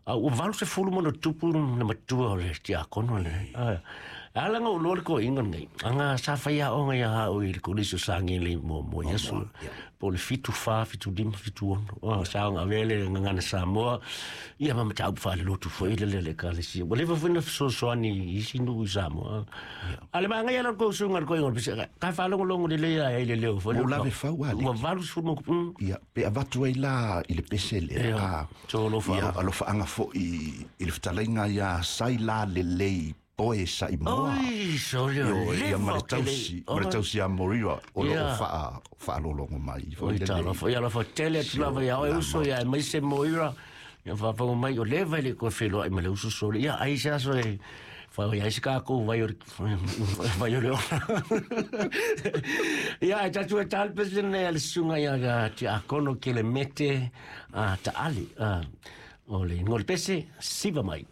A ua 80+ na matua o le tiakono le. Ala nga ulo le ko inga nei. Anga sa fai a onga ia hao i le kolisi o Sagele mo mo Yesu. Po le 74, 75, 76. O sa nga vele ngana Samoa. Ia ma matau fa le lotu foi le le ka le si. Ua leva foi na fesoasoani isi nuu i Samoa. Ale ma ngai ala ko sunga ko inga pese. Ka fa longo longo le le ia i le leo foi. Ua lave fau ale. Ua 80 mo. Ia pe avatu ai la i le pese le. Ia. Tolo fa. Ia alofaaga foʻi i le fetalaiga ia sai la lelei poe saʻimoa. Oi, sole o ia ma le tausi, ma le tausi a Moira o loo faalologo mai foi. Oi talofa, ia alofa tele atu lava ia oe uso ia e mai se Moira. Ia faafofoga mai o leva i le koe feloai ma le uso sole. Ia ai se aso e fai ai se kākou vai o le vai o le ola. Ia e tatu e talpese nei a le susuga ia Tiakono Kelemete Taali. O le ngole pese siva mai.